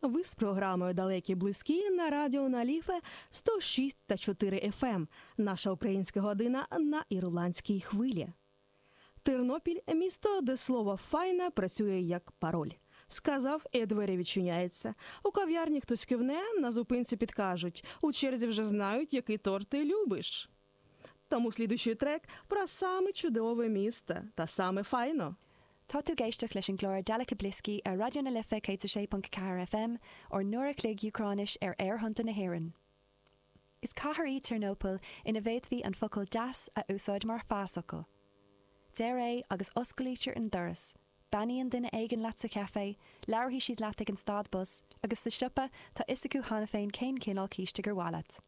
Ви з програмою Далекі близькі на радіо на Ліфе 106,4 FM. Наша українська година на ірландській хвилі. Тернопіль місто, де слово файна працює як пароль. Сказав, і двері відчиняються. У кав'ярні хтось кивне, на зупинці підкажуть. У черзі вже знають, який торт ти любиш. Тому слідуючий трек про саме чудове місто та саме файно. Tá tú ag éisteacht leis an gclár Daleky Blisky ar Raidió na Life 106.4 FM, ár n-uair a chloig Úcráinis ar aerthonnta na hÉireann. Is cathair í Ternopil ina bhféadfaí an focal 'deas' a úsáid mar phasfhocal. Deir é agus osclaítear an doras, beannaíonn duine éigin leat sa chaifé, labharfaidh siad leat ag an stad bus, agus sa siopa tá fhios acu cheana féin cén cineál císte gur mhaith leat.